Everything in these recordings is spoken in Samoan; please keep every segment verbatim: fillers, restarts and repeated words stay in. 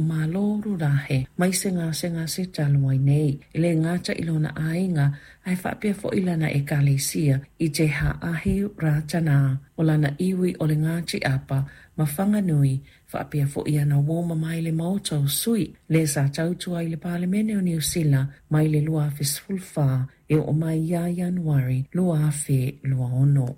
Malo rurahe mai se gasegase talu ai nei. E le gata i lona aiga ae faapea foi lana ekalesia i Te Haahi Rātana o lana iwi o le Ngāti Apa ma Whanganui faapea foi ana uo ma mai le Maota o Sui le sa tautua i le Palemene o Niu Sila mai le lua afe sefulu fa e oo mai ia Ianuari lua afe lua ono.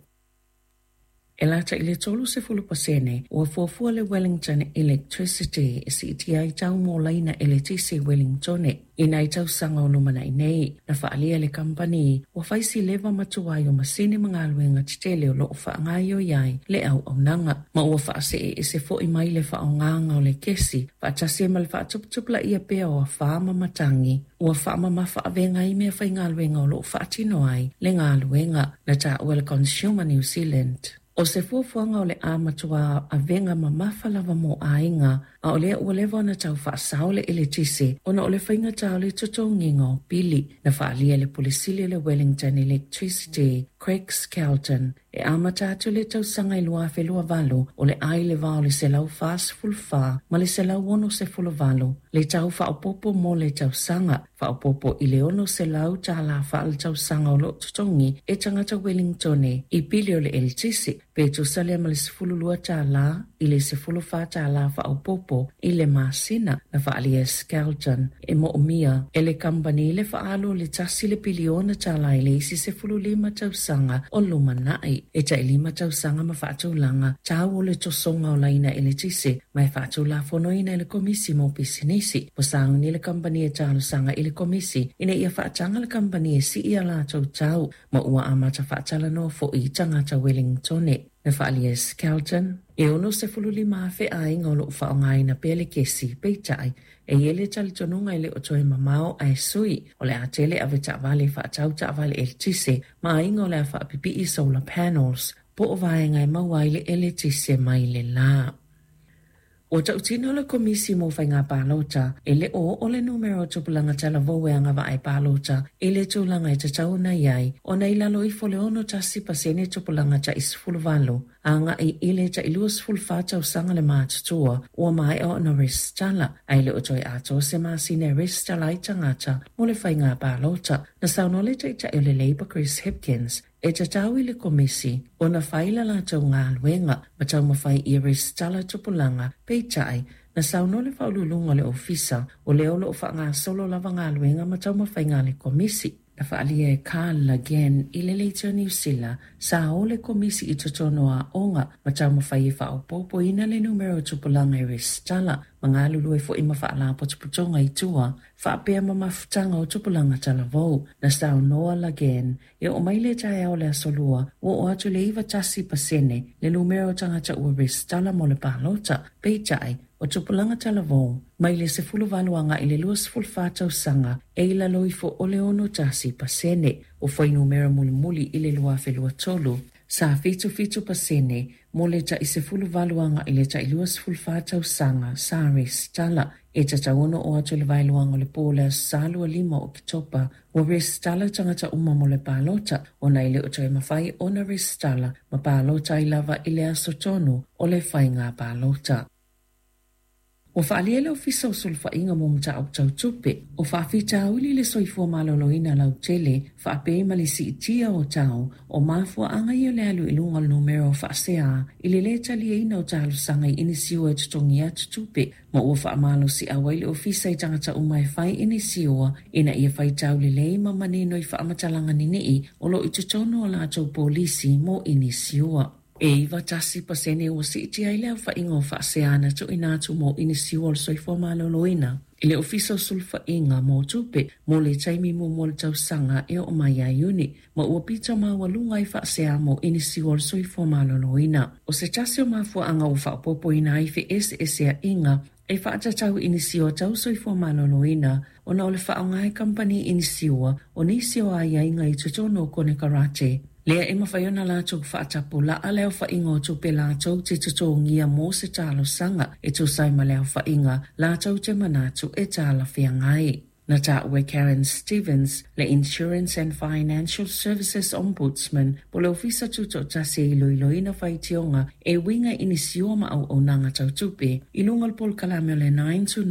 E lata i le tolu sefulu pasene ua fuafua le Wellington Electricity e siitia ai tau mo laina eletise i Wellingtone i nai tausaga o lumanai nei. Na faaalia e le kamupani ua fai si leva ma tuai o masini ma galuega tetele o loo faagaoioi ai le auaunaga ma ua faasee ese foi mai le faaaogaga o le kesi faatasi ai ma le faatuputupulaia pea o afā ma matagi ua faamamafa avega ai meafaigaluega o loo faatino ai le galuega. Na taua e le Consumer New Zealand o se fuafuaga o le a matua avega mamafa lava mo aiga a o lea ua leva ona tau faasao le eletise ona o le faigata o le totogiga o pili. Na faaalia e le Pule Sili o le Wellington Electricity Craig Skelton e amata atu le tausaga i lua afe lua valu o le a i le va o le selau fasefulu fa ma le selau ono sefulu valu le tau faaopoopo mo le tausaga faaopoopo i le ono selau tālā faaletausaga o loo totogi e tagata Wellingtone i pili o le eletise pe tusa lea ma le sefulu lua tālā i le sefulu fa tālā faaopoopo i le masina. Na faaalia e Skelton e moomia e le kamupani le faaalu o le tasi le piliona tālā i le isi sefulu lima tausaga o lumanai e tailima tausaga ma faatulaga tau o le tosoga o laina eletise ma e faatulafonoina e le Komisi mo Pisinisi. Ua sauni le kamupani e talosaga i le Komisi ina ia faataga le kamupani e sii a latou tau ma ua amata faatalanoa foi tagata Wellingtone. Na faaalia e Skelton e ono sefulu lima afe aiga o loo faaaogaina pea le kesi peitai e i ai le talitonuga e le o toe mamao ae sui o le a tele avetaavale faatau taavale eletise ma aiga o le a faapipii solar panels po o vaega e maua ai le eletise mai le lā. Ua tautino le Komisi mo Faiga Palota e le o oo le numera o tupulaga talavou e agavaa e palota i le tulaga e tatau ona i ai ona i lalo ifo le ono tasi pasene tupulaga tai sefulu valu agai i le tai lua sefulu fa tausaga le matutua ua maea ona resitala ae le o toe atoa se masina e resitala ai tagata mo le faiga palota. Na saunoa le taitai o le Labour Chris Hipkins e tatau i le Komisi ona fai la latou galuega ma taumafai ia resitala tupulaga peitai na saunoa le faauluuluga o le ofisa o lea o loo faagasolo lava galuega ma taumafaiga a le Komisi. Na faaalia e Carl Lagan i le Leitio Niu Sila sa o le Komisi i totonu o aoga ma taumafai e faaopoopoina le numera o tupulaga e resitala ma galulue foi ma faalapotopotoga i tua faapea ma mafutaga o tupulaga talavou. Na saunoa Lagan e oo mai le taeao le aso lua ua oo atu le iva tasi pasene le numera o tagata ua resitala mo le palota peitai o tupulaga talavou mai le sefulu valu agai le lua sefulu fa tausaga e i lalo ifo o le ono tasi pasene o fuainumera mulimuli i le lua afe lua tolu sa fitu fitu pasene mo le tai sefulu valu agai le tai lua sefulu fa tausaga sa resitala. E tatau ona oo atu i le vaeluaga o le po o le aso Sa lua lima o Oketopa ua resitala tagata uma mo le palota ona e le o toe mafai ona resitala ma palota ai lava i le aso tonu o le faiga palota. Ua faaalia le Ofisa o Sulufaiga mo Mataupu Tau Tupe o faafitauli le soifua maloloina lautele faapea ma le siitia o tau o mafuaaga ia o le alu i luga o le numera o faasea i le lē taliaina o talosaga i inisiua e totogi atu tupe ma ua faamalosiau ai le ofisa i tagata uma e fai inisiua ina ia faitau lelei ma manino i faamatalaga ninii o loo i totonu o latou polisi mo inisiua. E iva tasi pasene ua siitia ai le aofaiga o faasea na tuuina atu mo inisiua o le soifua maloloina i le Ofisa o Sulufaiga mo Tupe mo le taimi muamua o le tausaga e oo mai ia Iuni ma ua pito maualuga ai faasea mo inisiua o le soifua maloloina. O se tasi o mafuaaga ua faaopoopoina ai feeseeseaiga e faatatau inisiua tau soifua maloloina ona o le faaaoga e kamupani inisiua o nisi o aiaiga i totonu o konekarate lea e mafai ona latou faatapulaa le aofaiga o tupe latou te totogia mo se talosaga e tusa ai ma le aofaiga latou te manatu e talafeagai. Na taua e Karen Stevens, le Insurance and Financial Services Ombudsman, po o le Ofisa Tutoatasi e iloiloina faitioga e uiga i nisi o ma auaunaga tau tupe i luga o le polokalame o le nine to